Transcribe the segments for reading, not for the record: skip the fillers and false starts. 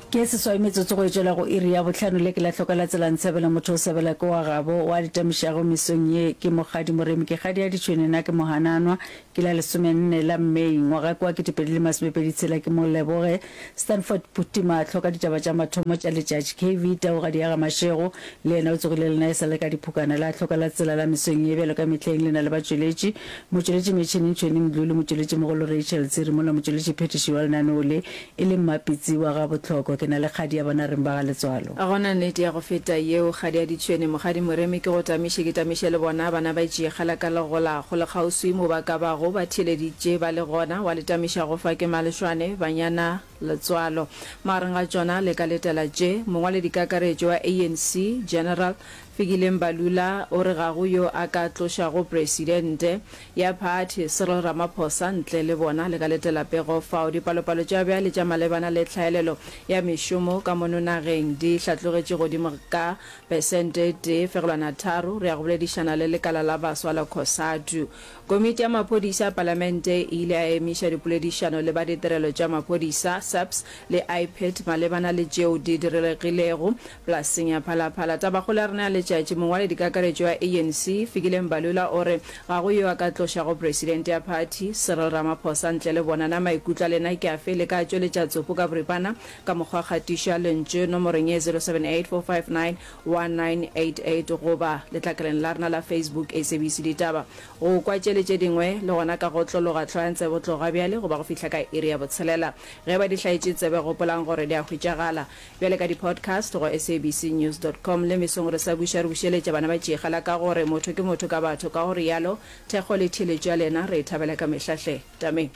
Ke seswai metsotso go e tšwela go iri ya bohlano le ke la hloka la tsela ntshebela motho o sebela ke wa gabo wa ditamišago mesong ye ke Mokgadi Moremi ke kgadi ya ditšhwene na ke mohananwa ke la lesomenne la May ngwaga ke wa 2020 tshela ke mo leboge Stanford Phuti mahlo ka ditaba tša mathomo tša letšatši KV Taugadi ya ga Mashego le yena o tsogile lena e sa le ka diphukana la hloka la tsela la mesong ye bjalo ka mehleng le na le batšweletši motšweletši metšhineng Tšhweni Mdluli motšweletši mogolo Rachel Tsiri mola motšweletši phethiši wa lenaneo le E le Mmapitsi wa ga Bohloko, ke na le kgadi ya bona reng ba ga Letswalo. Ga gona nnete ya go feta yeo, kgadi ya ditšhwene, Mokgadi Moremi, ke go tamiše, ke tamiše le bona bana ba tšeegela ka legola kgole kgauswi mo ba ka bago ba theeleditše ba le gona, wa le tamiša go fa ke Malešwane, banyana Letswalo. Magareng ga tšona le ka letela tše, Mongwaledikakaretšo wa ANC, General Fikile Mbalula o re ga go yo a ka tlošago presidente ya phathi Cyril Ramaphosa ntle le bona. Le ka letela pego fao dipalopalo tša bjale tša malebana le tlhaelelo ya mešomo ka mono nageng di hlatlogetše godimo ka pesente e tee fegelwana tharo. Re ya go boledišana le lekala la baswa la Cosatu. Komiti ya maphodisa a palamente e ile ya emiša dipoledišano le ba ditirelo tša maphodisa, SAPS, le IPID malebana le tšeo di diregilego polaseng ya Phalaphala. Tabakgolo ya rena ya letšatši, mongwaledikakaretšo wa ANC, Fikile Mbalula o re ga go yo a ka tlošago presidente ya phathi, Cyril Ramaphosa ntle le bona. Na maikutlo a lena ke afe? Le ka tšweletša tsopo ka boripana ka mokgwa wa kgatišo ya lentšu nomorong ye 078 459 1988 goba letlakaleng la rena la Facebook SABC Ditaba. Go kwa tše le tše dingwe le gona ka go otlologa hloyang tsebe tloga bjale goba go fihla ka iri ya botshelela. Ge e ba di hlaetše tsebe gopolang gore di a hwetšagala bjale ka di-podcast go sabcnews dot com. Le mesong re sa buša re bušeletša bana ba tšeegela ka gore motho ke motho ka batho ka go realo thekgo le theeletšo ya lena re e thabela ka mehla hle. Tameng.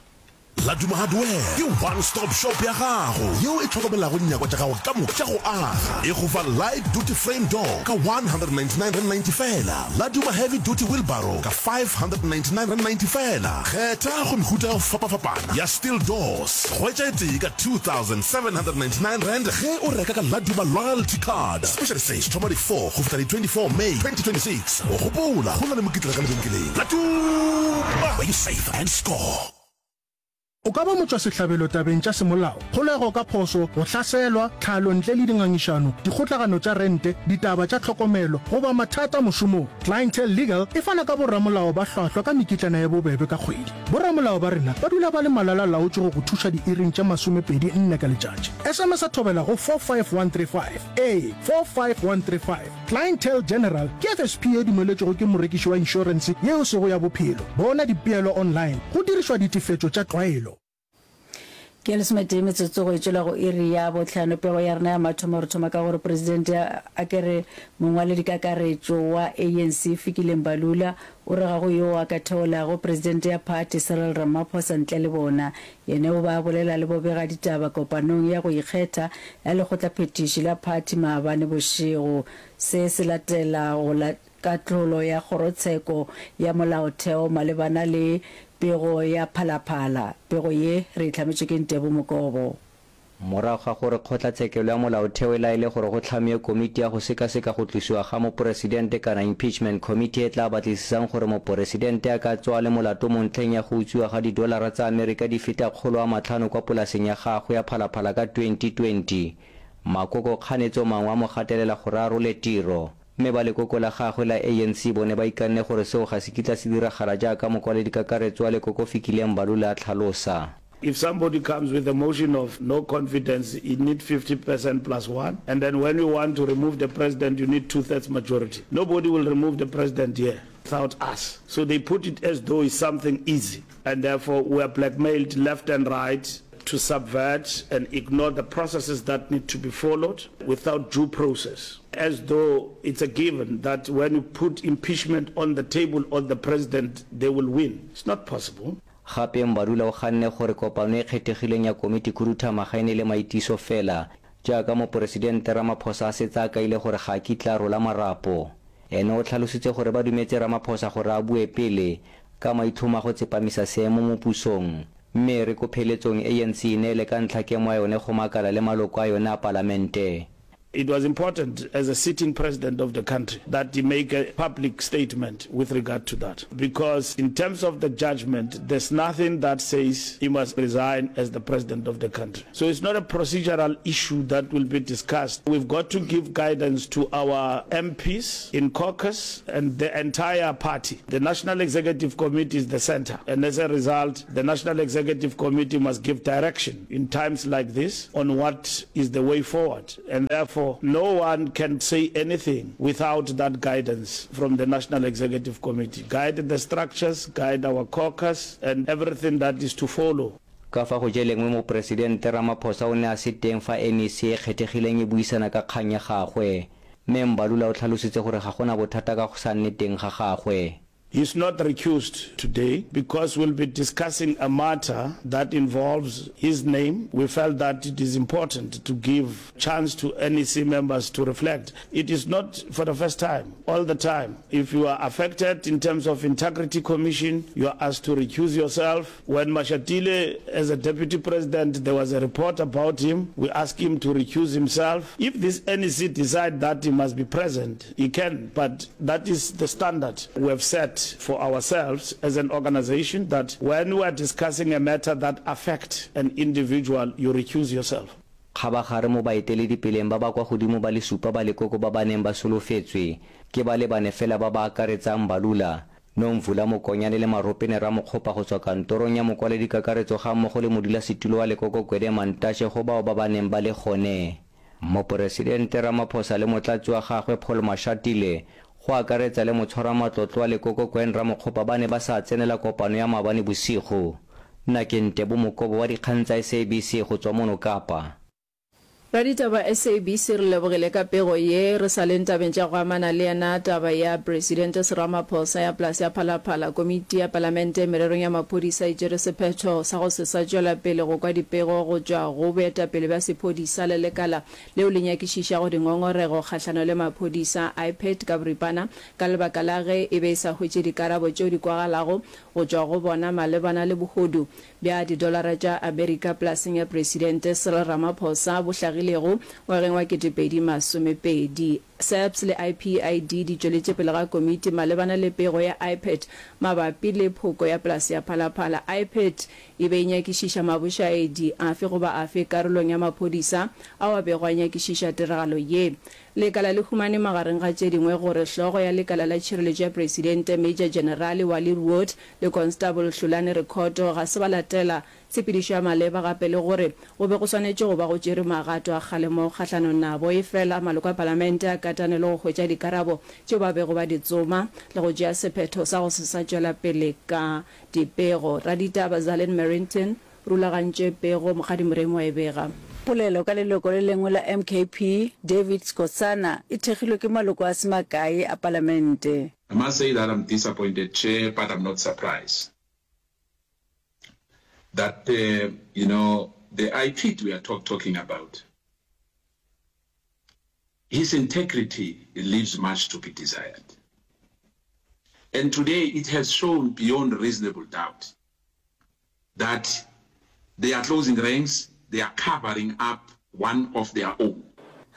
Laduma Hardware ke one stop shop ya gago yeo e hlokomelago dinyakwa tša gago ka moka tša go aga. E go fa light duty frame door ka R199.90 feela, Laduma heavy duty wheelbarrow ka R599.90 feela. Kgetha go mehuta ya go fapafapana ya steel doors. Hwetša e tee ka R2799 ge o reka ka Laduma loyalty card. Special se se thoma di 4 go fihla di 24 May 2026. Gopola, go na le mokitlana ka lebenkeleng. Laduma, where you save and score. O ka ba motšwasehlabelo tabeng tša semolao, kgolego ka phošo, go hlaselwa, tlhalo ntle le dingangišano, dikgotlagano tša rente, ditaba tša tlhokomelo, goba mathata mošomong. Clientele Legal e fana ka boramolao ba hlwahlwa ka mekitlana ye bobebe ka kgwedi. Boramolao ba rena ba dula ba le malala-laotšwe go go thuša diiring tše masomepedi nne ka letšatši. SMS-a thobela go 45135. Ee, 45135. Clientele General ke FSP ye dumeletšwego ke morekiši wa inšorense ye e sego ya bophelo. Bona dipeelo online go dirišwa ditefetšo tša tlwaelo. Ke lesometee metsotso go e tšwela go iri ya bohlano. Pego ya rena ya mathomo re thoma ka gore Presidente a ke re mongwaledikakaretšo wa ANC Fikile Mbalula o re ga go yoo a ka theolago Presidente ya phathi Cyril Ramaphosa ntle le bona. Yena o be a bolela le bobegaditaba kopanong ya go ikgetha ya lekgotlaphethiši la phathi maabane bošego. Se se latela go la kahlolo ya kgorotsheko ya molaotheo malebana le pego ya Phalaphala. Pego ye re e hlametšwe ke Ntebo Mokobo. Morago ga gore Kgotlatshekelo ya Molaotheo e laele gore go hlamiwe komiti ya go sekaseka go tlosiwa ga moporesidente kana Impeachment Committee e tla batlisisang gore moporesidente a ka tswa a le molato mo ntlheng ya go utswiwa ga didolara tsa Amerika di feta 500 kwa polaseng ya gagwe ya Phalaphala ka 2020, makoko kganetso mangwe a mo gatelela gore a role tiro. Mme ba lekoko la gagwe la ANC bone ba ikanne gore seo ga se kitla se diragala jaaka mokwaledikakaretso wa lekoko Fikile Mbalula a tlhalosa. If somebody comes with a motion of no confidence, you need 50 percent plus one, and then when you want to remove the president, you need two-thirds majority. Nobody will remove the president here without us. So they put it as though it's something easy, and therefore we are blackmailed left and right to subvert and ignore the processes that need to be followed without due process, as though it's a given that when you put impeachment on the table on the president, they will win. It's not possible. Gape Mbalula o ganne gore kopano e kgethegileng ya komitikhuduthamaga e ne le maitiso fela, jaaka Moporesidente Ramaphosa a setse a kaile gore ga a kitla a rola marapo. Ene o tlhalositse gore ba dumetse Ramaphosa gore a bue pele, ka maitlhomo a go tsepamisa seemo mo pusong. Mme e re ko pheletsong ANC e neele ka ntlha kemo ya yone go makala le maloko a yone a palamente. It was important as a sitting president of the country that he make a public statement with regard to that because in terms of the judgment there's nothing that says he must resign as the president of the country. So it's not a procedural issue that will be discussed. We've got to give guidance to our MPs in caucus and the entire party. The National Executive Committee is the center and as a result the National Executive Committee must give direction in times like this on what is the way forward and therefore no one can say anything without that guidance from the National Executive Committee. Guide the structures, guide our caucus and everything that is to follow. Ka fa go je lengwe Mopresidente Ramaphosa o ne a se teng fa NEC e kgethegileng e buisana ka kgang ya gagwe. Mme Mbalula o tlhalositse gore ga go na bothata ka go sa nne teng ga gagwe. He's not recused today because we'll be discussing a matter that involves his name. We felt that it is important to give chance to NEC members to reflect. It is not for the first time, all the time. If you are affected in terms of Integrity Commission, you are asked to recuse yourself. When Mashatile, as a deputy president, there was a report about him, we asked him to recuse himself. If this NEC decide that he must be present, he can, but that is the standard we have set for ourselves as an organization that when we are discussing a matter that affect an individual, you recuse yourself. Kgabagare mo baeteledipeleng ba ba kwa godimo ba le supa ba lekoko ba ba neng ba solofetswe, ke ba le bane fela ba ba akaretsang Mbalula, Nomvula Mokonyane le Maropene Ramokgopa go tswa kantorong ya mokwaledikakaretso gammogo le modulasetulo wa lekoko Gwede Mantashe go bao ba ba neng ba le gone. Moporesidente Ramaphosa le motlatsi wa gagwe Paul Mashatile go akaretsa le motshwaramatlotlo wa lekoko Gwen Ramokgopa ba ne ba sa tsenela kopano ya maabane bosigo. Nna ke Ntebo Mokobo wa dikgang tsa SABC go tswa mono Kapa. Raditaba SABC re lebogile ka pego ye. Re sa leng tabeng tša go amana le yena taba ya Presidente Ramaphosa ya polase ya Phalaphala, Komiti ya Palamente mererong ya maphodisa e tšere sephetho sa go se sa tšwela pele go kwa dipego go tšwa go boetapele bja sephodisa le lekala leo le nyakišišago dingongorego kgahlano le maphodisa, IPID ka boripana, ka lebaka la ge e be e sa hwetše dikarabo tšeo di kwagalago go tšwa go bona malebana le bohodu bja didolara tša Amerika polaseng ya Presidente Cyril Ramaphosa bo hlagilego ngwageng wa 2020. SAPS le IPID di tšweletše pele ga komiti malebana le pego ya IPID mabapi le phoko ya polase ya Phalaphala. IPID e be e nyakišiša mabošaedi afe goba afe karolong ya maphodisa ao a bego a nyakišiša tiragalo ye. Lekala le humane magareng ga tše dingwe gore hlogo ya lekala la tšhireletšo ya Presidente Major Generale Wally Rwood le Constable Hlulani Rekhoto ga se ba latela tshepedišo ya maleba gape le gore go be go swanetše go ba go tšerwe magato a kgalemo kgahlanong nabo. Efela maloko a palamente a katane le go hwetša dikarabo tšeo ba bego ba di tsoma le go tšea sephetho sa go se sa tšwela pele ka dipego. Raditaba Zalin Merrington Rulagantše pego, Mokgadi Moremi wa e bega. Polelo ka leloko le lengwe la MKP, David Skosana, e thekgilwe ke maloko a se makae a palamente. I must say that I'm disappointed Chair but I'm not surprised that you know the IPID we are talk talking about his integrity leaves much to be desired and today it has shown beyond reasonable doubt that they are closing ranks, they are covering up one of their own.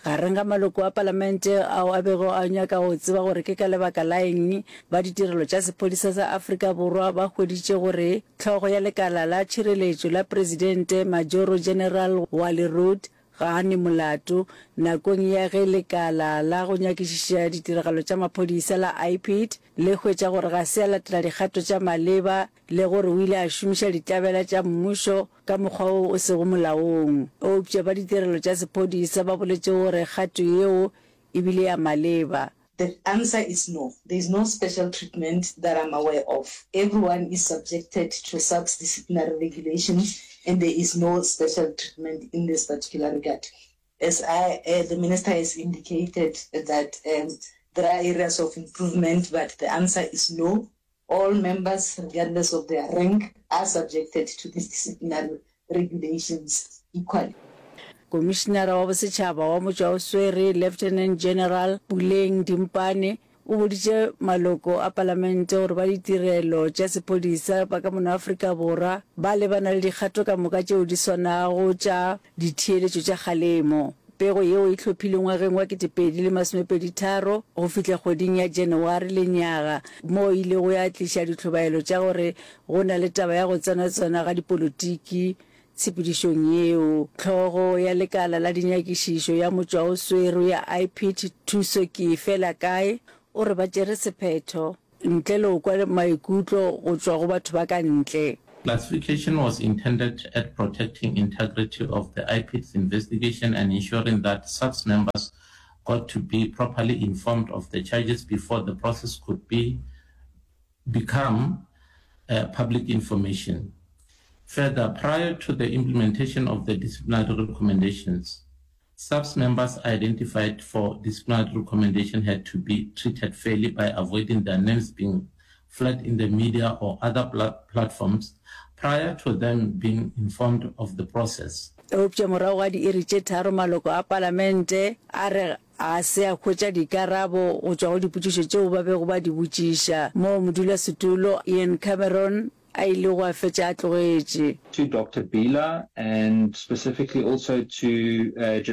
Gareng ga maloko a palamente ao a bego a nyaka go tseba gore ke ka lebaka la eng ba ditirelo tša sephodisa sa Afrika Borwa ba hweditše gore hlogo ya lekala la tšhireletšo la presidente Majoro General Wally Rhoode ga a ne molato nakong ya ge lekala la go nyakišiša ditiragalo tša maphodisa la IPID le hwetša gore ga se a latela dikgato tša maleba le gore o ile a šomiša ditlabela tša mmušo ka mokgwa wo o sego molaong. Eupša ba ditirelo tša sephodisa ba boletše gore kgato yeo e bile ya maleba. The answer is no. There is no special treatment that I'm aware of. Everyone is subjected to SAPS disciplinary regulations and there is no special treatment in this particular regard. As I, uh, the minister has indicated that um, there are areas of improvement, but the answer is no. All members, regardless of their rank, are subjected to these disciplinary regulations equally. Komišinara wa Bosetšhaba wa Motšwaoswere, Lieutenant General Puleng Dimpane, o boditše maloko a palamente gore ba ditirelo tša sephodisa ba ka mono Afrika Borwa ba lebana le dikgato ka moka tšeo di swanago tša ditheeletšo tša kgalemo. Pego yeo e hlophilwe ngwageng wa 2023 go fihla kgweding ya Janaware lenyaga, moo e ilego ya tliša ditlhobaelo tša gore go na le taba ya go tsenatsena ga dipolotiki tshepedišong yeo. Hlogo ya lekala la dinyakišišo ya motšwaoswere ya IPID, Thuso Keefelakae, o re ba tšere sephetho ntle le go kwa maikutlo go tšwa go batho ba ka ntle. Classification was intended at protecting integrity of the IPID's investigation and ensuring that SAPS members got to be properly informed of the charges before the process could be become uh, public information. Further, prior to the implementation of the disciplinary recommendations, SAPS members identified for disciplinary recommendation had to be treated fairly by avoiding their names being flagged in the media or other platforms prior to them being informed of the process. Eupša morago ga diiri tše tharo maloko a palamente a re ga se a hwetša dikarabo go tšwa go dipotšišo tšeo ba bego ba di botšiša, moo modulasetulo Ian Cameron a ilego a fetša a tlogetše. To Doctor Bila and specifically also to General.